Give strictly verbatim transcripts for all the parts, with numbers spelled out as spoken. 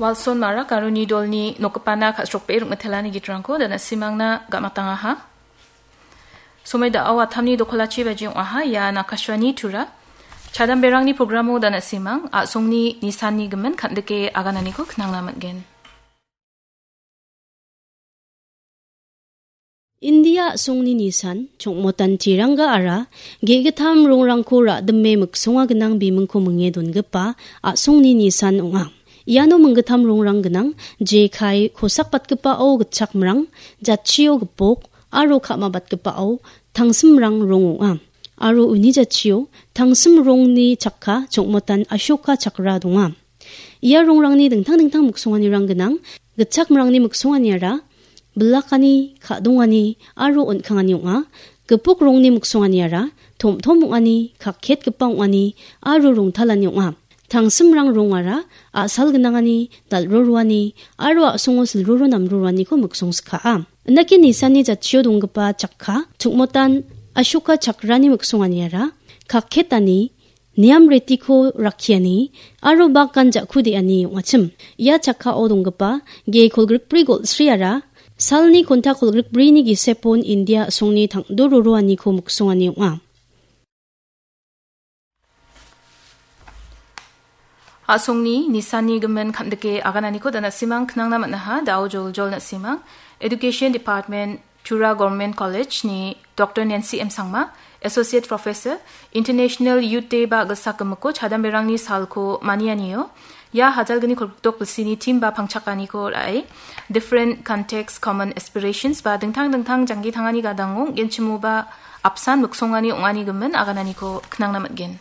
Walson Marak aro Nidolni nokgipana ka·srokbe rikmitelani gitrangko dana simangna gam·atangaha. Somoi da·o atamni dokolachi baji ong·aha, ia Nakashwani Tura. Chadamberangni programo dana simang, a·songni nisanni gimin kan·dike agananiko knangna man·gen. India a·songni nisan, chongmotan tirangga ara, ge·gittam rongrangko ra·dime miksonga gnang bimingko minge dongipa a·songni nisan ong·a. Iano minggittam rongrang gnang, jekai kosakbatgipao gitchakmrang, jatchio gipok, aro ka·mabatgipao tangsimrang rong ong·a. Aro uni jatchio tangsim rongni chakka chongmotan Ashoka chakra donga. Ia rongrangni dingtang dingtang miksonganirang gnang. Gitchakmrangni miksonganiara bilakani, ka·dongani aro on·kangani ong·a. Gipok rongni miksonganiara tom-tom ong·ani, kaketgipa ong·ani aro rongtalani ong·a. Tangsimrang rongara a·sal gnangani, dal·roroani aro a·songo silroro namroroaniko miksongskaha. Indake nisanni jatchio donggipa chakka, chongmotan Ashoka chakrani miksonganiara kaketani, niam retiko rakkiani aro bagan ja·ku de·ani ong·achim. Ia chakkao donggipa ge kolgrikbri golsriara salni konta kolgrikbrini gisepon India a·songni tangdo roroaniko miksongani ong·a. A·songni nisanni gimin kan·dike agananiko dana simang knangna man·aha, da·o joljol na·simang. Education Department, Tura Government College-ni Doctor Nancy M Sangma, Associate Professor, International Youth Day ba gilsak gimikko chadamberangni salko manianio, ia hajalgni kolgrikdok bilsini theme ba pangchakaniko ra·e, different context, common aspirations ba dingtang dingtang janggi tangani gadango genchimoba apsan miksongani ong·ani gimin agananiko knangna man·gen.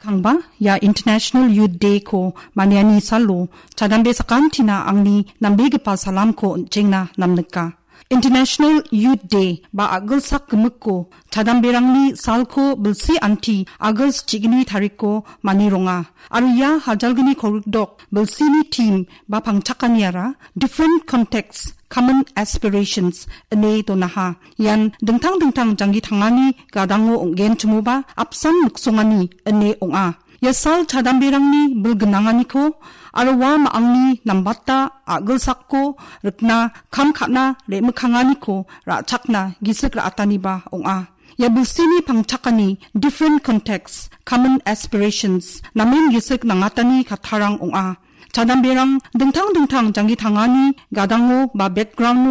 Skangba, ia International Youth Day-ko maniani salo, chadambe sakantina angni nambegipa salamko on·chengna namnika. International Youth Day ba a·gilsak gimikko chadamberangni salko bilsi anti August chigni tarikko manironga. Aro ia hajalgni kolgrikdok bilsini theme ba pangchakaniara different contexts, common aspirations ine donaha. Ian dingtang dingtang janggi tangani gadango ong·genchimoba apsan miksongani ine ong·a. Ia sal chadamberangni bil gnanganiko aro ua ma·angni nambata a·gilsakko rikna kam ka·na re·mikkanganiko ra·chakna gisik ra·ataniba ong·a. Ia bilsini pangchakani different contexts, common aspirations namen gisik nangatani kattarang ong·a. Chadamberang dingtang dingtang janggi tangani gadango ba background-o